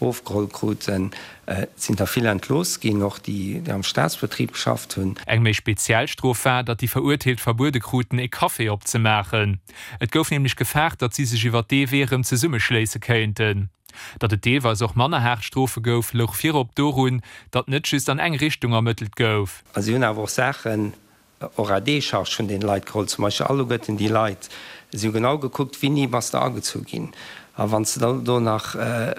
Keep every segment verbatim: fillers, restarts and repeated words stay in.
ofgeholl kruten. Et sinn der vill entlooss ginn, och déi, déi am Staatsbetrib geschafft hunn. Eng méi speziell Strof war, datt déi Verurteelt verbuede kruten, e Café opzemaachen. Et gouf nämlech gefaart, datt si sech iwwer dee Wee erëm zesummeschléisse kéinten. Datt et deelweis och manner haart Strofe gouf, louch virop dorun, datt net just an eng Richtung ermëttelt gouf. A si hunn awer och Saachen och à décharge vun deene Leit geholl, zum Beispill alleguerten déi Leit. Si hu genau gekuckt, Wéini bass de agezu ginn? A wann s de dann do nach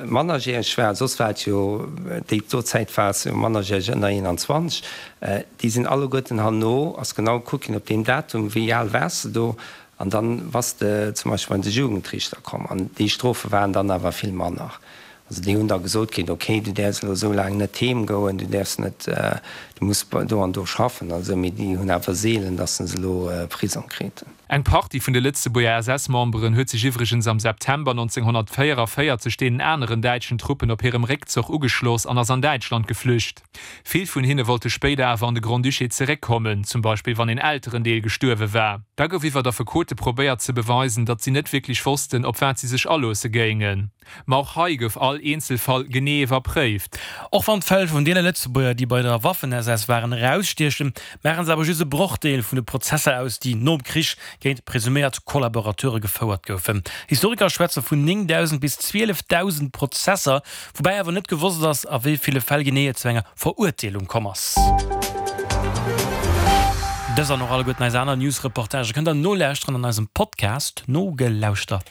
mannerjäreg war, soss war et jo déi do Zäit war s jo mannerjäreg ënner eenanzwanzeg, déi sinn alleguerten herno, ass genau gekuckt ginn op deem Datum, wéi al waars de do, an dann bass de zum Beispill bei de Jugendriichter komm. An déi Strofe waren dann awer vill manner. Also déi hunn da gesot kritt, okay, du däerfs elo esou laang net heem goen, du däerfs net, du muss do an do schaffen an esou, mee déi hunn awer seelen, datt se elo Prisong kriten. Eng Partie vun de Lëtzebuerger S S-Memberen huet sech iwwregens am September nonzénghonnertvéieranvéierzeg deenen aneren däitschen Truppen op hirem Réckzoch ugeschloss an ass an Däitschland geflücht. Vill vun hinne wollte spéider awer an de Grand-Duché zeréckkommen, zum Beispill wann een Elterendeel gestuerwe war. Da gouf iwwer Affekote probéiert ze beweisen, datt si net wierklech wossten, op wat si sech aloosse géingen. Ma och hei gouf all Eenzelfall genee iwwerpréift. Och wann d'Fäll vun deene Lëtzebuerger, déi bei der Waffen-S S waren, erausstiechen, maache se awer just e Brochdeel vun de Prozesser aus, déi nom Krich géint presuméiert Kollaborateure gefouert goufen. Historiker schwätze vun néngdausend bis zwielefdausend Prozesser, woubäi awer net gewosst ass, a wéi ville Fäll genee et zu enger Verurteelung komm ass. Dës an och alleguerten eis aner News-Reportagë kënnt der nolauschteren an eisem Podcast Nogelauschtert.